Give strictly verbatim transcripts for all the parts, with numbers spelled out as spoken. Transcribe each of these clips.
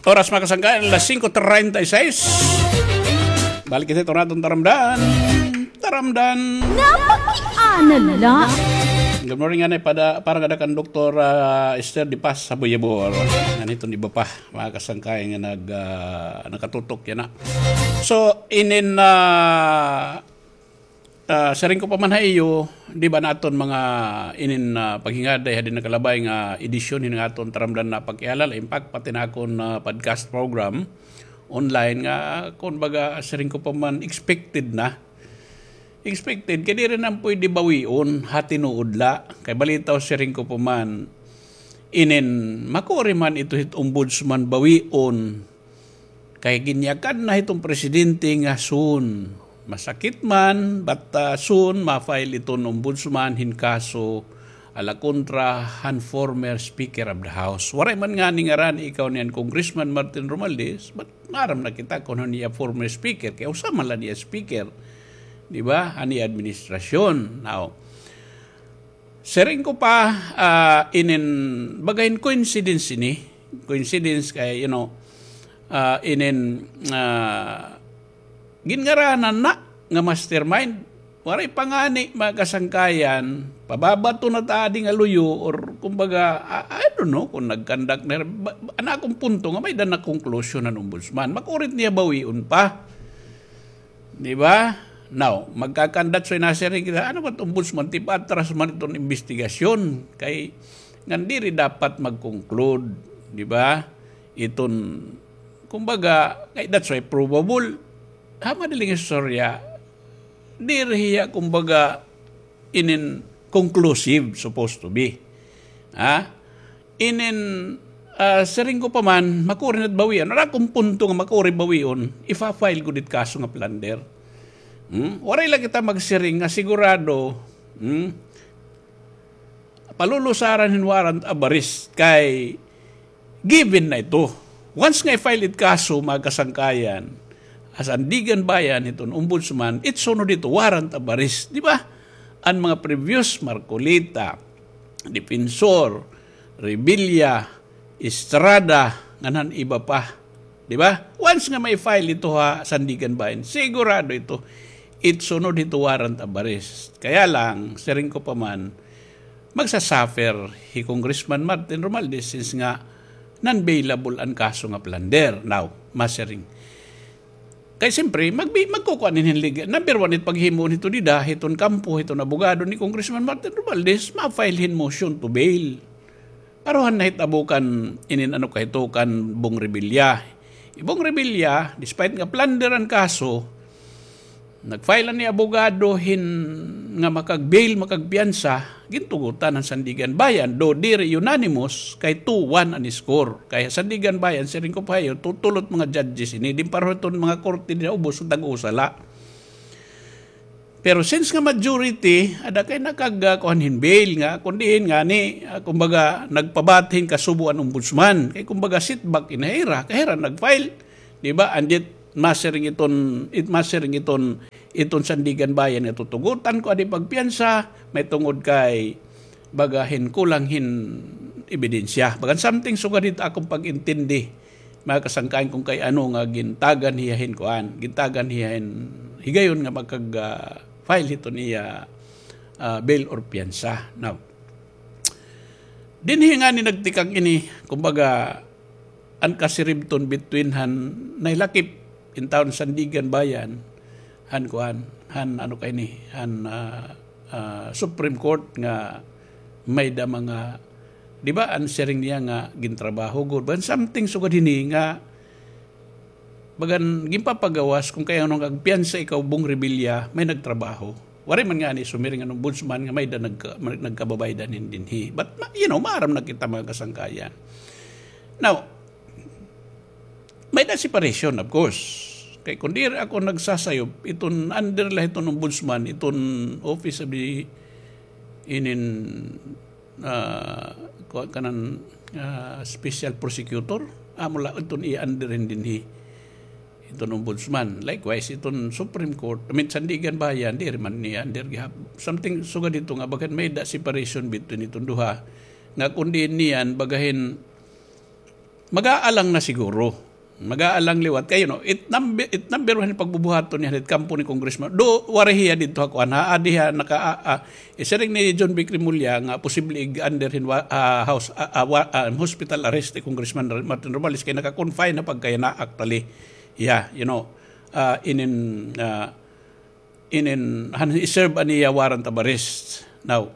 Oras, mga kasangkayan, alas singko treinta y seis. Balik kita ito naton taramdan. Taramdan. Napakiana la. Good morning, anay, pada, para ngada kan Doktor, ah, Esther de Paz sa Buyabor. Ngan hiton iba pa, mga kasangkayan nga nag, ah, nakatutok yana. So, inin, ah, Ah, siring ko pa man ha iyo, di ba, naton mga inin, ah, paghingaday ha di nakalabay nga edisyon hin aton Taramdan na Pakiana la, in fact, pati na akon, ah, podcast program online nga, kumbaga, siring ko pa man, expected na. Expected, kay diri na pwede bawion, ha tinuod la. Kay balitaw, siring ko pa man, inin, makuri man ito hit ombudsman bawion. Kay ginyakan na hiton presidente nga soon, masakit man, but, ah, soon, ma-file iton ombudsman hin kaso ala kontra han former Speaker of the House. Waray man ngani ngaran ikaw niyan Congressman Martin Romualdez, but maaram na kita kon hin iya former speaker, kay usa man la niya speaker, di ba, han iya administrasyon. Now, siring ko pa, ah, inin, baga hin coincidence ini. Coincidence kay, you know, ah, inin, ah, ginngaranan na nga mastermind. Waray pa ngani, mga kasangkayan, pababato na ta adi nga luyo, or kumbaga, I, I don't know kon nag-conduct na, ba-, ba-, an akon punto nga may-ada na conclusion an ombudsman. Makuri it niya bawion pa. Di ba? Now, magkakandat so inasiring kita, ano ba it ombudsman, ti paatras man iton imbestigasyon, kay ngan diri dapat mag-conclude, di ba? Iton, kumbaga, kay that's why probable, ha madaling istorya, diri hiya, kumbaga, inin conclusive, supposed to be. Ha? Inin, ah, siring ko pa man, makuri na it bawion. An akon punto nga makuri bawion, ifa-file gud it kaso nga plunder. Hmm? Waray la kita magsiring nga sigurado, hmm? Palulusaran hin warrant of arrest kay given na ito. Once nga i-file it kaso, mga kasangkayan, ha Sandiganbayan hiton ombudsman, it sunod ito, warrant of arrest. Di ba? An mga previous, Marcoleta, Defensor, Revilla, Estrada, ngan han iba pa. Di ba? Once nga ma-file ito ha Sandiganbayan, sigurado ito, it sunod ito warrant of arrest. Kaya lang, siring ko pa man, magsa-suffer hi Congressman Martin Romualdez since nga non-bailable an kaso nga plunder. Now, masiring. Kay siyempre, magbi-, magkukuan hin legal. Number one, it paghimo hito dida, hiton kampo, hiton abogado ni Congressman Martin Romualdez, ma-file hin motion to bail. Pero han nahitabo kan inin ano ka hito kan Bong Revilla. Hi Bong Revilla, despite nga plunder an kaso, nag-file an iya abogado hin nga makag-bail, makagpiyansa, gintugotan han Sandiganbayan, do diri unanimous, kay two one an score. Kay Sandiganbayan, siring ko pa ha iyo, tu-, tulo it mga judges ini, din pareho iton mga korte dida ubos, tag-usa la. Pero since nga majority, ada kay nakag-, ah, kuan hin bail nga, kun diin ngani, ah, kumbaga, nagpabati hin kasubo an ombudsman. Kay kumbaga, setback ini ha ira, kay hira nag-file. Di ba? And yet, masiring iton, it, masiring iton, iton Sandiganbayan nga tutugotan ko adi pagpiyansa, mahitungod kay baga hin kulang hin ebidensya. Bagan something sugad hit akon pag-intindi, mga kasangkayan, kon kay ano nga gintagan hiya hin kuan, gintagan hiya hin higayon nga makag, ah, file hiton iya, ah, bail or piyansa. Now, dinhi ngani nagtikang ini, kumbaga, an kasiribton between han nahilakip in town Sandiganbayan, han kuan, han ano kay ni, han, ah, ah, Supreme Court nga may-ada mga, di ba, an siring niya nga gintrabaho gud. Bagan something sugad hini nga bagan ginpapagawas kon kay ano nga agpiyansa ikaw Bong Revilla, may nagtrabaho. Waray man ngani sumiring an ombudsman nga may-ada nagka-, nagkababaydan hin dinhi. But, ma-, you know, maaram na kita mga kasangkayan. Now, may-ada separation, of course. Kay kun diri ako nagsasayop, iton under la hiton ombudsman, iton office of the, inin, ah, kuan kanan, ah, special prosecutor, amo la iton i-under hin dinhi. Iton ombudsman. Likewise, iton Supreme Court, I mean, Sandiganbayan, diri man niya under gihap. Something sugad hito nga bagan may-ada separation between iton duha. Nga kun diin niyan, baga hin Mag-aalang na siguro. Mag-aalang liwat kay, you know, it number, it number one pagbubuhaton niya it kampo ni Congressman. Do, waray hiya didto ha kuan, ha, adi ha, naka, ah, ah, isiring ni John Vic Remulla nga posible ig-under hin wa-, ah, house, ah, ah, wa-, ah, hospital arrest ni Congressman Martin Romualdez kay naka-confine na pagkayana actually. Yeah, you know, ah, inin, ah, inin, han i-serve an iya warrant of arrest. Now,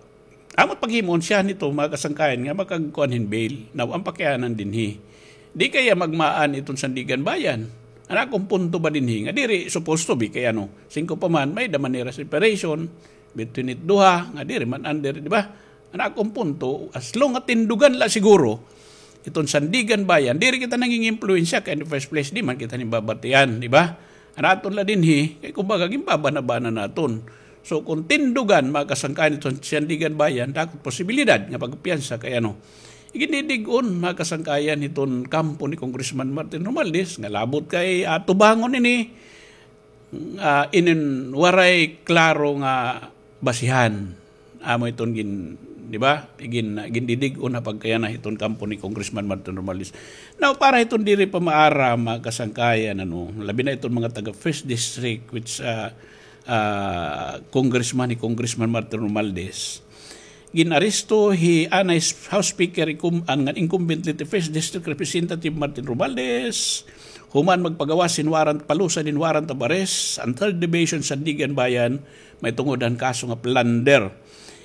amo it paghimuon siya nito, mga kasangkayan, nga makagkuan hin bail. Now, an pakianan dinhi, di kaya magmaan iton Sandiganbayan. An akon punto ba dinhi, nga diri supposed to be kay ano, singko pa man, may-ada man nira separation between it duha, nga diri man under, di ba? An akon punto, as long nga tindugan la siguro iton Sandiganbayan, diri kita nanging-impluwensya kay in the first place, di man kita nibabatian, di ba? An aton la dinhi, kay kumbaga, ginbabana-bana naton. So, kung tindugan, mga kasangkayan, iton Sandiganbayan, dako it posibilidad nga pagpiyansa kay ano. Igindidig-on, mga kasangkayan, iton kampo ni Congressman Martin Romualdez, nga labot kay atubangon ini, ah, inin waray klaro nga basihan. Amo iton gin-, di ba? Gin-, gindidig-on ha pagkayana hiton kampo ni Congressman Martin Romualdez. Now, para hiton diri pa maaram, mga kasangkayan, ano, labi na iton mga taga First District, which, ah, ah, Congressman, hi Congressman Martin Romualdez. Gin-aresto hi anay House Speaker incum-, an ngan incumbent didto First District Representative Martin Romualdez human magpagawas hin warrant, palusad hin warrant of arrest an Third Division Sandiganbayan, mahitungod han kaso nga plunder.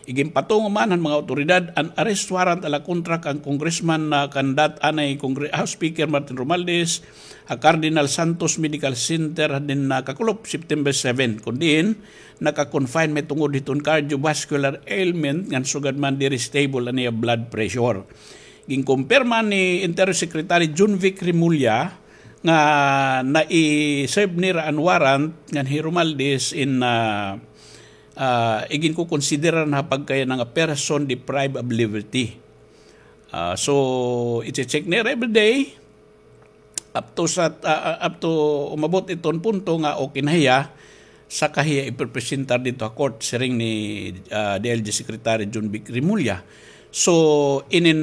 Iginpatungo man han mga awtoridad an arrest warrant ala kontra kan Congressman, ah, kandat anay Congre-, House Speaker Martin Romualdez ha Cardinal Santos Medical Center dinhi ha Kakulop, September seven, kun diin naka-confine mahitungod hiton cardiovascular ailment ngan sugad man diri stable an iya blood pressure. Ginkumpirma ni Interior Secretary John Vic Remulla nga nai-serve nira an warrant ngan hi Romualdez in, ah, ah, iginkukonsidera na ha pagkayana nga person deprived of liberty. Ah, so, iche-check nira every day. Up to sa, ah, ah, up to umabot iton punto nga okay na hiya, saka hiya iprepresentar didto ha court, siring ni, ah, D I L G Secretary John Vic Remulla. So, in, in,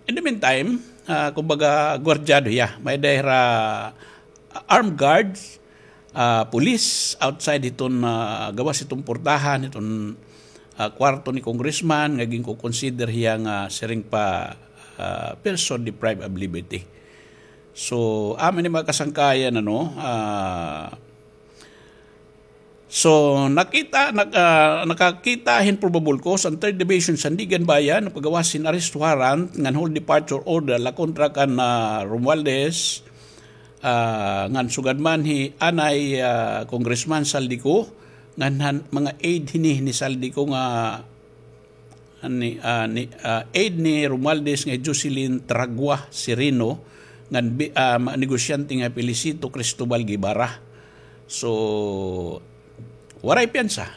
in the meantime, ah, kumbaga, gwardyado hiya. May-ada hira, ah, armed guards, ah, police outside hiton, ah, gawas hiton portahan, hiton, ah, kwarto ni Congressman, nga ginko-consider hiya nga siring pa, ah, person deprived of liberty. So, amo ini mga kasangkayan, ano, ah, so, nakita, nak-, ah, nakakita hin probable cause an Third Division Sandiganbayan, pagawas hin arrest warrant ngan hold departure order la kontra kan, ah, Romualdez, ah, ngan sugad man hi anay, ah, Congressman Zaldy Co, ngan han mga aide hini ni Zaldy Co nga ni, ah, ni, ah, aide ni Romualdez nga Jocelyn Tragua Sereno, ngan bi-, ah, ma-, negosyante nga Felicito Cristobal Guevara. So, waray piyansa.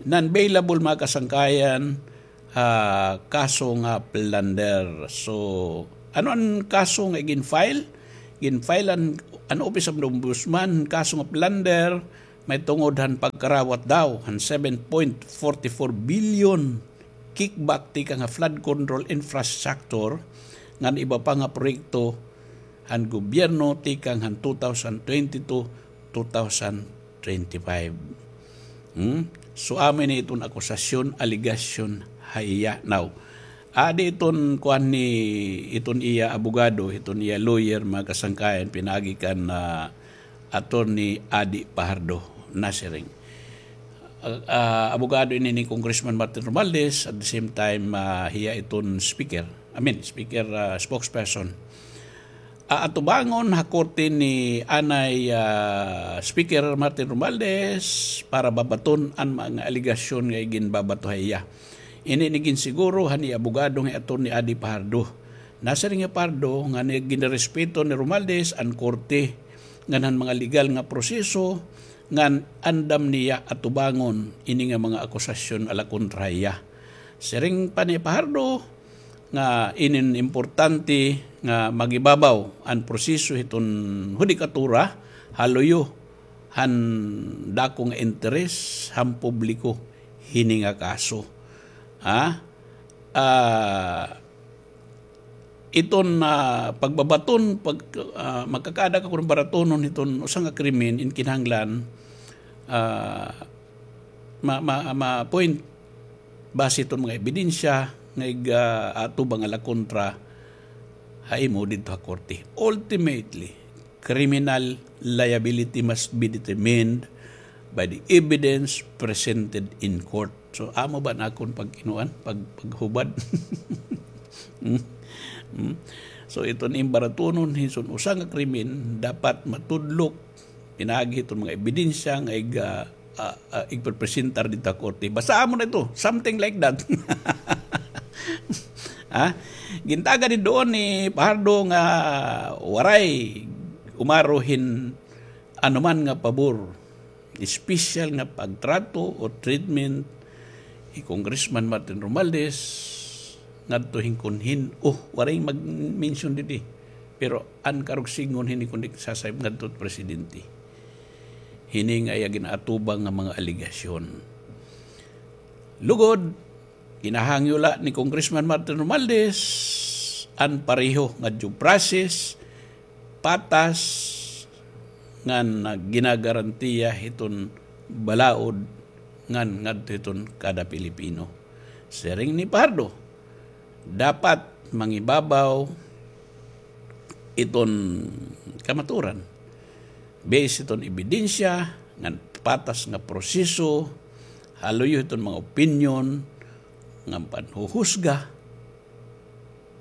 Non-bailable, mga kasangkayan, ah, kaso nga plunder. So, ano an kaso nga gin-file? Gin-file an, an Office of the Ombudsman, kaso nga plunder, mahitungod han pagkarawat daw han seven point forty four billion kickback tikang ha flood control infrastructure ngan iba pa nga proyekto han gobyerno tikang han two thousand twenty-two, two thousand twenty-five. Hmm? So, amo ini iton akusasyon, alegasyon ha iya. Now, adi iton kuan ni iton iya abogado, iton iya lawyer, mga kasangkayan, pinaagi kan, ah, Attorney Adi Fajardo, nasiring. Ah, ah, abogado ini ni Congressman Martin Romualdez, at the same time, ah, hiya iton speaker. I mean, speaker, ah, spokesperson. Ah, atubangon ha korte ni anay, ah, Speaker Martin Romualdez para babaton an mga alegasyon nga iginbabato ha iya. Ini an iginsiguro han iya abogado nga Attorney Adi Fajardo. Nasiring hi Fajardo nga ginrespeto ni Romualdez an korte ngan han mga legal nga proseso ngan andam niya atubangon ini nga mga akusasyon ala kontra ha iya. Siring pa ni Fajardo nga inin importante nga magibabaw an proseso hiton hudikatura ha luyo han dako nga interes han publiko hini nga kaso. Ha? Ah, iton, ah, pagbabaton, pag, ah, magkakaada ka kon baratonon hiton usa nga krimen in kinahanglan, ah, ma-, ma-, ma-point base hiton mga ebidensya nga ig-, ah, atubang ala kontra ha imo didto ha korte. Ultimately, criminal liability must be determined by the evidence presented in court. So, amo ba an akon pagkinuan, pag-, paghubad? Hmm? Hmm? So, iton im baratonon, hiton usa nga krimen, dapat matudlok, pinaagi hiton mga ebidensya nga ig-, ah, ah, ah, igprepresentar didto ha korte. Basta amo na ito, something like that. Ha? Gintagad ni doon ni Fajardo nga waray umaro hin anuman nga pabor, special nga pagtrato o treatment hi Congressman Martin Romualdez ngadto hin kon hin-o, waray mag-mention didi. Pero an karuyag sidngon hini kundi sasayop ngadto presidente. Hini nga iya gin-atubang nga mga alegasyon. Lugod, ginahangyo la ni Congressman Martin Romualdez an pareho nga due process, patas, ngan ginagarantiya hiton balaod ngan ngadto hiton kada Pilipino. Siring ni Fajardo, dapat mangibabaw iton kamaturan. Base hiton ebidensya, ngan patas nga proseso, haluyo hiton mga opinyon, ngan panhuhusga,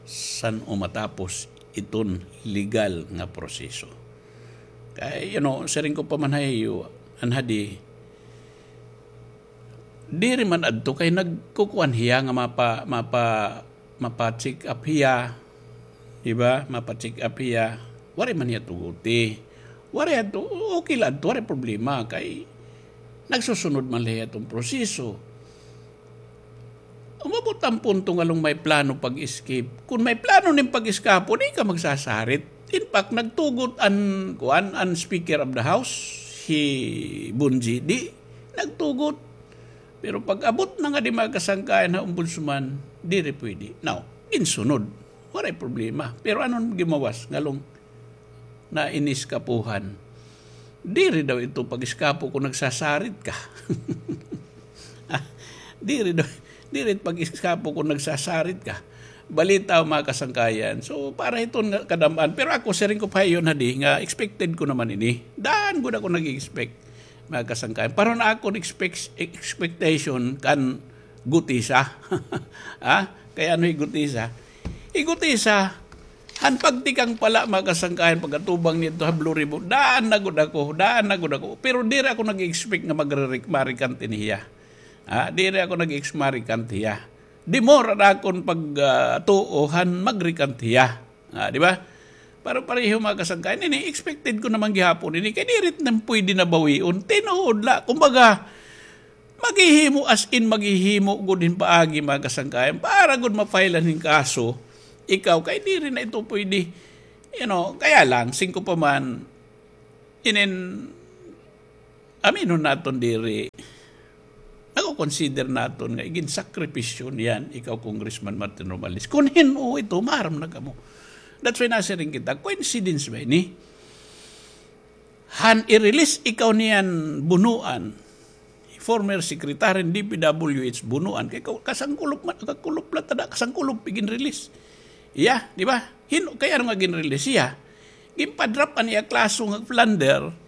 san-o matapos iton legal nga proseso. Kay, you know, siring ko pa man ha iyo, an hadi, diri man adto kay nagkukuan hiya nga mapa-, mapa-, mapa-check up hiya, di ba? Mapa-check up hiya. Waray man hiya tuguti. Waray adto, okay la adto, waray problema kay nagsusunod man la hiya hiton proseso. Umabot an punto nga ngan may plano pag-escape. Kon may plano nim pag-eskapo, di ka magsasarit. In fact, nagtugot an, kuan, an Speaker of the House, hi Bongie, di, nagtugot. Pero pag-abot na ngadi mga kasangkayan ha Ombudsman, diri pwede. Now, ginsunod. Waray problema. Pero ano an gimawas? Ngan nainis ka puhan. Diri daw ito pag-eskapo kon nagsasarit ka. Ah, diri daw, diri pag-eskapo kon nagsasarit ka. Balita, mga kasangkayan. So, para hiton nga kadam-an. Pero ako, siring ko pa ha iyo hadi, nga expected ko naman ini. Daan gud ako nag-expect, mga kasangkayan. Pareho an akon expect-, expectation kan Gutesa. Ha? Kay ano hi Gutesa? Hi Gutesa, han pagtikang pa la, mga kasangkayan, pag-atubang niya didto ha Blue Ribbon, daan na gud ako, daan na gud ako. Pero diri ako nag-expect nga magre-, ma-recant ini hiya. Ha? Diri ako nag-ex-, ma-recant hiya. The more an akon pag, ah, tuo han mag-recant hiya. Ah, di ba? Pareho-pareho, mga kasangkayan. Ini, expected ko naman gihapon ini. Kay diri na pwede na bawion. Tinuod la. Kumbaga, maghihimo, as in, maghihimo gud hin paagi, mga kasangkayan. Para gud ma-file-an hin kaso. Ikaw, kay diri na ito pwede. You know, kaya lang, siring ko pa man, inin, aminon naton diri, nako-consider naton nga iginsakripisyo niyan, ikaw, Congressman Martin Romualdez. Kon hin-o ito, maaram na kamo. That's why nasiring kita, coincidence ba ini? Han i-release ikaw niyan Bonoan, former secretary hin D P W H Bonoan, kay ka-, kasangkulop man, kakulop la tada, kasangkulop, iginrelease. Iya, di ba? Hin-, kay ano nga ginrelease iya? Ginpa-drop an iya kaso nga plunder,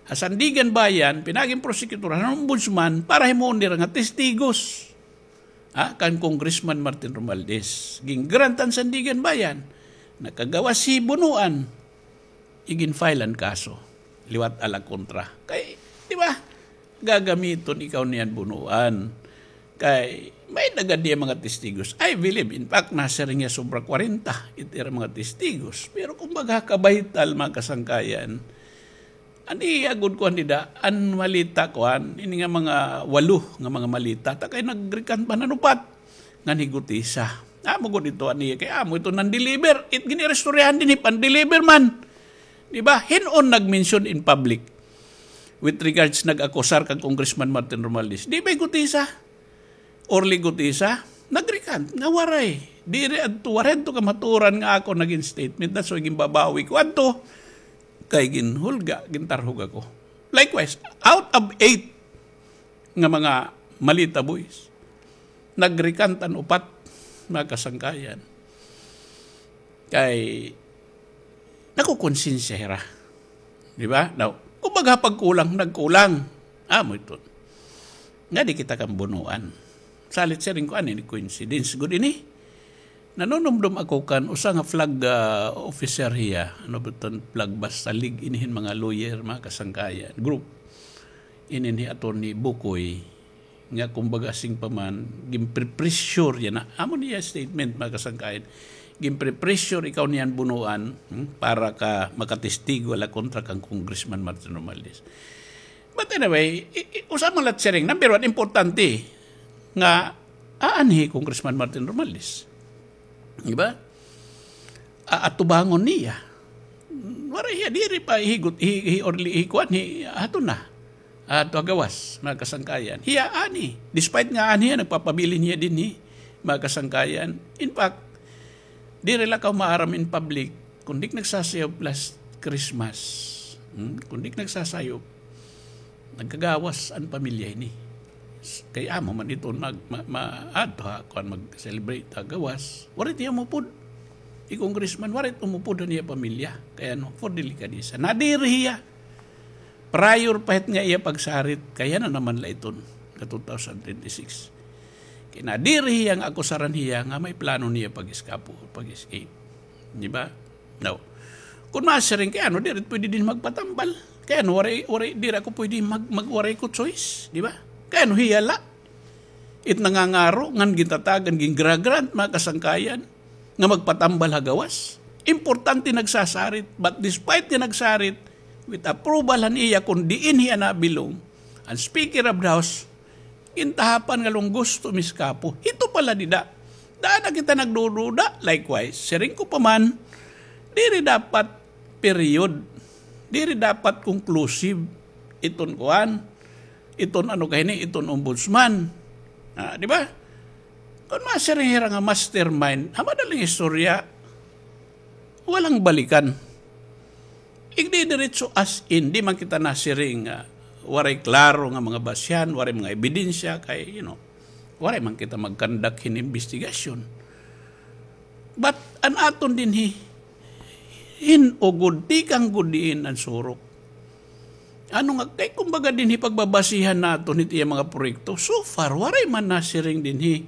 ha Sandiganbayan, pinaagi hin prosecutor, han ombudsman, para himuon nira nga testigos. Ha, kan Congressman Martin Romualdez. Gin-grant an Sandiganbayan. Nakagawas hi Bonoan. Igin-file an kaso. Liwat ala kontra. Kay, di ba? Gagamiton ikaw niyan Bonoan. Kay, may-ada gad hiya mga testigos. I believe, in fact, nasiring hiya sobra kwarenta it ira mga testigos. Pero kumbaga, kabaytal, mga kasangkayan, an iya gud kuan dida, an maleta kuan, ini nga mga walo nga mga maleta, ta kay nag-recant pa han upat ngan hi Gutesa. Amo gud ito an iya, kay amo ito nan-deliver. It gin-iristoryahan dinhi, pan-deliver man. Di ba? Hin-o an nag-mention in public with regards nag-akusar kan Congressman Martin Romualdez? Di ba hi Gutesa? Orly Gutesa, nag-recant nga waray. Diri adto, waray adto kamaturan nga ako nagin statement. That's why ginbabawi ko adto. Kay ginhulga, gintarhog ako. Likewise, out of eight nga mga Malita Boys, nagrecant an upat, mga kasangkayan. Kay nakukonsensya hira. Di ba? Now, kumbaga pagkulang, nagkulang. Amo iton. Nga di kita kambunuan. Salit siring ko, ano ini, coincidence gud ini. Nanunumdom ako kan usa nga flag, ah, officer hiya. Ano ba iton flag ba? Salig ini hin mga lawyer, mga kasangkayan. Group. Inin hi Attorney Bukoy. Nga kumbaga sing pa man, ginpre-pressure yana. Amo niya statement, mga kasangkayan. Ginpre-pressure ikaw niyan bunuan, hmm, para ka makatestigo la kontra kan Congressman Martin Romualdez. But anyway, i-, i-, usa man la it siring, number one, importante nga aanhi hi Congressman Martin Romualdez. Di ba? A-, atubangon niya. Waray hiya, diri pa higot, hi, hi, orli, hi, kuan, hi, ato na. Ato ha gawas, mga kasangkayan. Hiya, ani. Despite nga ani hiya, nagpapabilin hiya dinhi, mga kasangkayan. In fact, diri la kaw maaram in public, kun di ka nagsasayaw last Christmas. Hmm? Kun di ka nagsasayaw, nagkagawas an pamilya ini. S-, kay amo man iton mag-, ma-, ma-, adto ha, kuan, mag-celebrate ha gawas. Waray hiya umupod. Hi Congressman, waray umupod an iya pamilya. Kay ano, for delikadesa. Nadiri hiya. Prior pa hit nga iya pagsarit, kay yana naman la iton, ka two thousand twenty-six. Kay nadiri hiya nga akusaran hiya nga may plano niya pag-eskapo, pag-escape. Di ba? Now, kun masiring, kay ano, diri pwede dinhi magpatambal. Kay ano, waray, waray, diri ako pwede mag-, mag-, waray ko choice, di ba? Kay ano, hiya la it nangangaro, ngan gintatagan, gingra-grant, mga kasangkayan, nga magpatambal ha gawas. Importante nagsasarit, but despite nga nagsarit, with approval han iya kun diin hiya nabilong, an Speaker of the House, gintahapan nga lung gusto miskapo. Hito pala dida. Daan na kita nagdududa, likewise. Siring ko pa man, diri dapat period. Diri dapat conclusive. Iton kuan, iton ano kahini, iton ombudsman. Ah, di ba? Kun masiring hira nga mastermind, ha madaling istorya, walang balikan. Igdidiretso as in, di man kita nasiring nga waray klaro nga mga basihan, waray mga ebidensya, kay, you know, waray man kita mag-conduct hin investigasyon. But an aton dinhi, hin-o gud, tikang gud diin an surok. Ano nga, kay kumbaga dinhi pagbabasihan naton hit iya mga proyekto, so far, waray man nasiring dinhi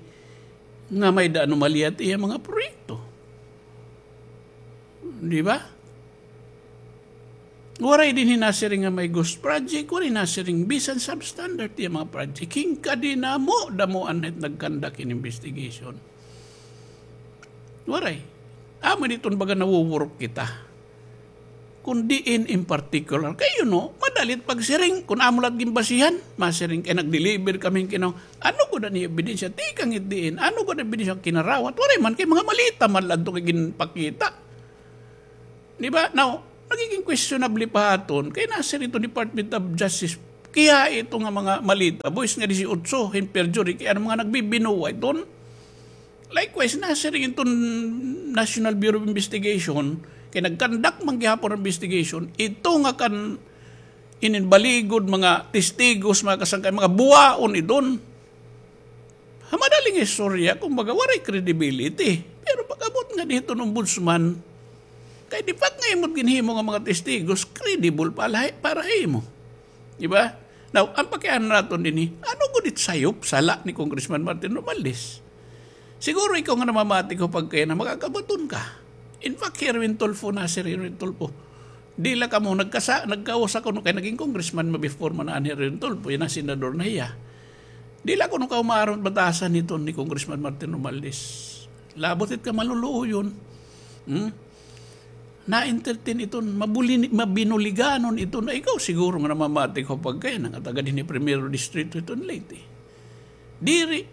nga may-ada anomalya it iya mga proyekto. Di ba? Waray dinhi nasiring nga may ghost project, waray nasiring bisan substandard iya mga project. Hin kadinamo-damoan na it nag-conduct hin investigation. Waray. Amo diton baga nawuwurok kita. Kun diin in particular. Kay, you know, madali it pagsiring. Kun amo la it ginbasihan, masiring kay nag-deliver kami hin kinaw-, ano gud an iya ebidensya? Tikang it diin. Ano gud an ebidensya? Kinarawat. Waray man kay mga malita man la adto kay ginpakita. Di ba? Now, nagiging questionable pa ha aton. Kay nasiring iton Department of Justice, kiha ito nga mga Malita Boys nga disiotso hin perjury, kay ano mga nagbibinuwa iton. Likewise, nasiring iton National Bureau of Investigation, kay nag-conduct man gihapon an investigation, ito nga kan inin baligod, mga testigos, mga kasangkay, mga buwaon iton. Ha madaling istorya, kumbaga, waray credibility. Pero pag-abot nga dinhi hiton ombudsman, kay the fact nga imo it ginhimo nga mga testigos, credible pala, para ha imo. Di ba? Now, an pakiana naton dinhi, ano gud it sayop, sala ni Congressman Martin Romualdez? Siguro ikaw nga namamati ko pagkaya na makakabaton ka. In fact, hi Erwin Tulfo, na si Erwin Tulfo. Di la kamo nagkasa-, nagkausa kuno kay naging congressman man before man an hi Erwin Tulfo, yana senador na hiya. Di la kuno kamo maaram batasan hiton ni Congressman Martin Romualdez. Labot it kamaluluoyon. Hmm? Na-entertain iton, mabuli-, mabinuliganon iton. Ay, ikaw siguro nga namamati ko pagkaya na nga taga dinhi Primero Distrito iton Leyte. Diri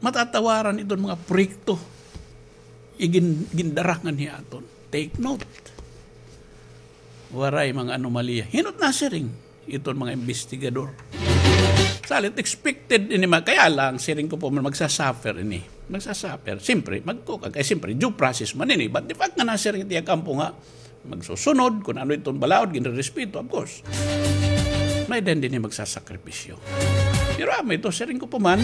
matatawaran iton mga proyekto igin-, gindarangan hi aton. Take note. Waray mga anomalya. Hin-o it nasiring? Iton mga investigador. Salit expected ini ma-, kaya lang, siring ko pa man, magsasuffer ini. Magsasuffer. Siyempre, magtuo ka. Kay siyempre, due process man ini. But the fact nga nasiring it iya kampo nga magsusunod, kun ano iton balaod, ginrerespeto, of course. May din dinhi magsasakripisyo. Pero amo ito, siring ko pa man,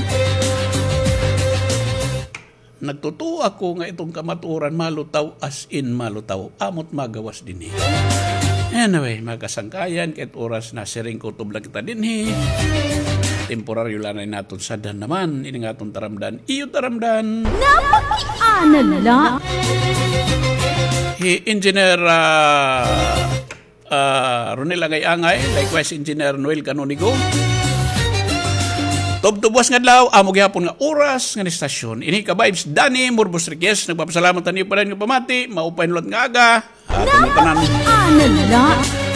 nagtutuo ako nga iton kamatuoran malutaw, as in malutaw. Amo't magawas dinhi. Anyway, mga kasangkayan, kay it oras na, siring ko, tubla kita dinhi. Temporaryo la ini naton sadhan naman, ini nga aton taramdan. Iyo taramdan. Napakiana la. Hi Engineer, ah, ah, Ronel Angay-Angay, likewise Engineer Noel Canonigo. Tubtob buwas nga adlaw, amo gihapon nga oras ngan istasyon. Ini ka Vibes, Danny Morbos Riquez, nagpapasalamat ha niyo pa dayon nga pamati, maupay nga hulat nga aga. Aton ngatanan. Napakiana la.